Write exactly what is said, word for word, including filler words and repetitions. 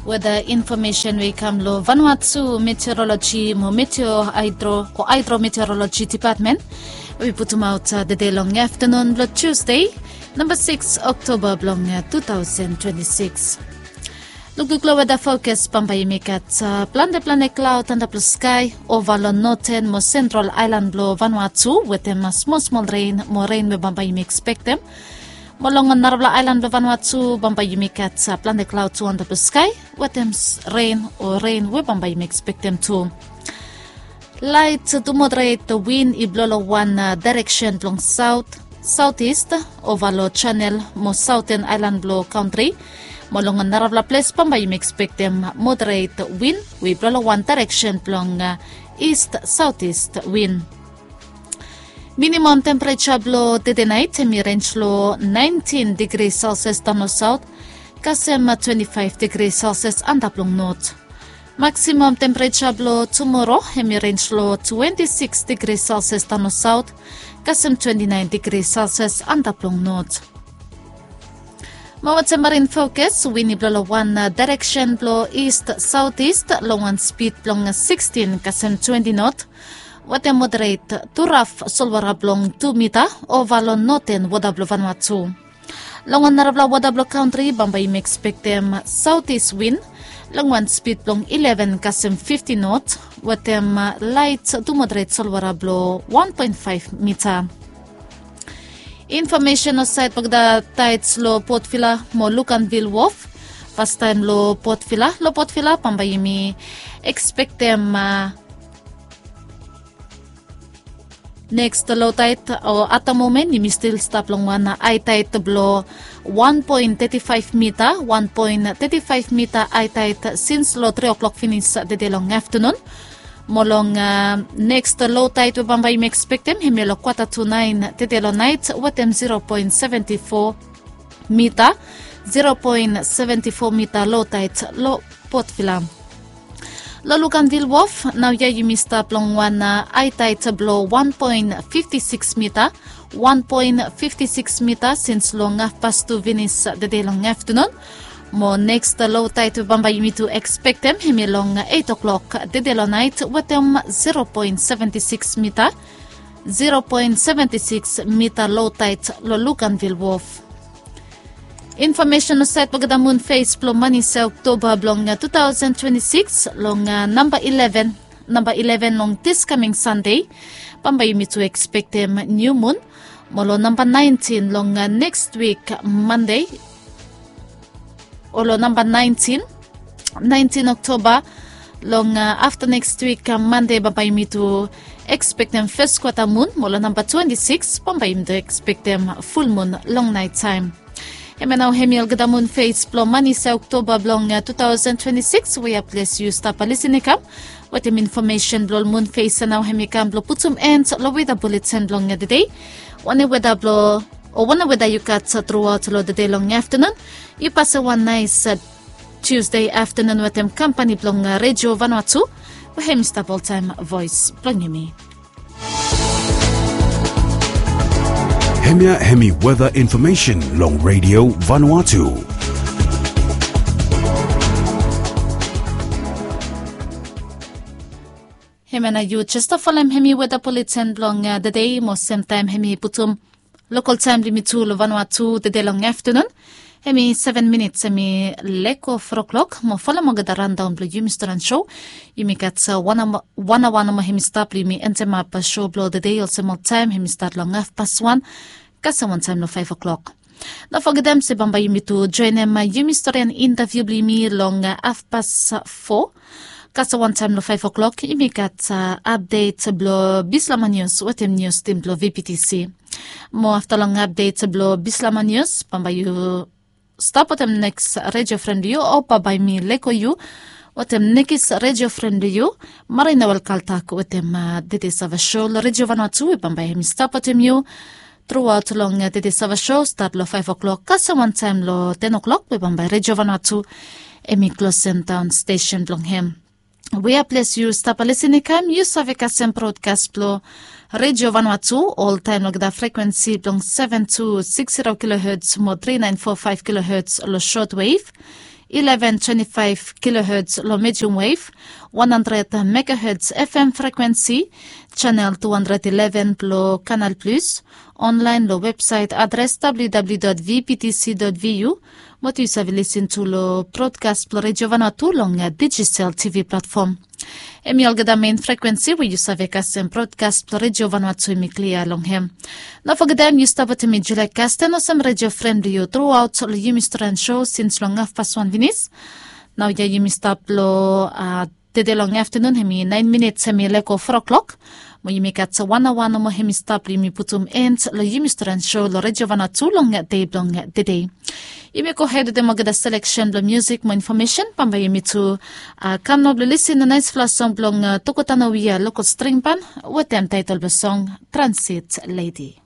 Weda infomesen we i kam long Vanuatu Meteorologi mo Meteo Haidro o Haidro Meteorologi Dipatmen we i putumaot tede long aftanun blong Tusde, namba sikis Oktoba blong tu taosen twenti sikis. Lukluk long weda fokas, bambae yumi gat plante plante klaod antap long skae ova long noten mo sentral aelan blong Vanuatu wetem smol smol ren mo ren we bambae yumi ekspektem. Mo long narafala aelan blong Vanuatu bambae yumi gat plante klaod tu antap long skae wetem ren o ren we bambae yumi ekspektem tu. Laet tu moderet win i blo long wan daereksen blong saot, saotis ova long janel mo saoten aelan blong kantri. Mo long narafala ples bambae yumi ekspektem moderet win we i blo long wan daereksen blong ist saotist win. Minimam tempereja blong tede naet hem i renj long naentin digri selsias daon long saot kasem twenti faef digri selsias antap long not. Maksimam tempereja blong tumoro hem i renj long twenti sikis digri selsias daon long saot kasem twenti naen digri selsias antap long not. Mo wetem marin fokas, win i blo long wan daereksen blong ist saotist long wan spid blong sikstin kasem twenti not. Wetem moderet tu raf solwara blong tu mita ova long noten wota blong Vanuatu. Long narafala wota blong kantri bambae yumi ekspektem saotis win long wan spid blong ileven kasem fifti not wetem laet tu moderet solwara blong wan poen faef mita. Infomesen olsait blong olgeta taets long Port Vila mo Luganville Wharf. Fastaem long Port Vila, long Port Vila bambae yumi ekspektem neks lo taet o at da momen yumi stil stap long wan aetaet blong wan poen teti faef mita, wan poen teti faef mita aetaet sins long tri oklok finis tede long aftanun. Mo long neks lo taet we bambae yumi ekspektem hem ya long kwata tu naen tede long naet wetem zero poen seventi fo mita, zero poen seventi fo mita lo taet long Port Vila. Long Luganville Wharf naoia yumi stap long wan aetaet blong wan poen fifti sikis mita, wan poen fifti sikis mita sins long hafpas tu finis tede long aftanun. Mo neks lo taet we bambae yumi tu ekspektem hem ya long eit oklok tede long naet wetem zero poen seventi sikis mita, zero poen seventi sikis mita lo taet long Luganville Wharf. Infomesen olsait blong olgeta mun fes blong manis ya Oktoba blong tu taosen twenti sikis long namba ileven, namba ileven long dis kaming Sande bambae yumi tu ekspektem niu mun. Mo long namba naentin long neks wik Mande, o long namba naentin, naentin Oktoba long afta neks wik Mande bambae yumi tu ekspektem fes kwata mun. Mo long namba twenti sikis bambae yumi tu ekspektem ful mun long naet taem. Hem ya nao hem ya olgeta mun fes blong manis ya Oktoba blong tu taosen twenti sikis we ya ples yu stap lisin i kam. Wetem infomesen blong ol mun fes ya nao hem i kam blong putum en long weda buletin blong tede. Wanem weda blong o wanem weda yu gat truaot long tede long aftanun. Yu pasem wan naes Tusde aftanun wetem kampani blong Redio Vanuatu we hem i stap oltaem voes blong yumi. Hemia hemi weda infomesen long Redio Vanuatu. Hemia nao yu jes stap folem hemi weda buletin blong tede mo semtaem hemi putum lokol taem blong yumi tu long Vanuatu tede long aftanun. Hemi seven minits hemi leko fo klok mo folem olgeta randaon blong yumi storan sho. Yumi gat wan aoa nomo hemi stap blong yumi endemap sho blong tede olsem oltaem hemi stat long hafpas wan kasem wantaem long faef oklok. No fogetem se bambae yumi tu joenem yumi storian intaviu blong yumi long hafpas fo kasem wantaem long faef oklok. Yumi gat apdet blong Bislama Nius wetem nius tim blong V P T C. Mo afta long apdet blong Bislama Nius bambae yu stap wetem neks redio fren blong yu o bambae mi leko yu wetem nekis redio fren blong yu, Marina Welkaltak wetem tede save sho long Redio Vanuatu we bambae hemi stap wetem yu truaot long tede save sho stat long faef oklok kasem wantaem long ten oklok we bambae Redio Vanuatu hemi klosem daon stesen blong hem. We ya ples yu stap lisin i kam yu save kasem brodkas blong Redio Vanuatu oltaem long olgeta frekwensi blong seven two six zero kilohertz mo three nine four five kilohertz long shortwave. eleven twenty-five kilohertz long medium wave, one hundred megahertz F M frequency, channel two hundred eleven blong Canal Plus, online long website address W W W dot V B T C dot V U, mo tu yu save listen tu long broadcast blong Radio Vanuatu long digital T V platform. Hemi olgeta main frequency we yu save kasem broadcast blong Radio Vanuatu hemi klia long hem. No fogetem yu stap wetem mi Julia Kasten olsem radio friend blong yu throughout long yumi story and show since long hafpas wan finis. Nao ya yumi stap long uh, tede long afternoon hemi nine minutes hemi lego four o'clock. Mo yumi gat wan awa nomo hemi stap long yumi putum end long yumi story and show long Radio Vanuatu long dei blong tede. Yumi go hed wetem olgeta selection blong music mo information bambae yumi tu uh, kam nao blong listen long naisfala song blong uh, Tokotano Wia local string band wetem title blong song Transit Lady.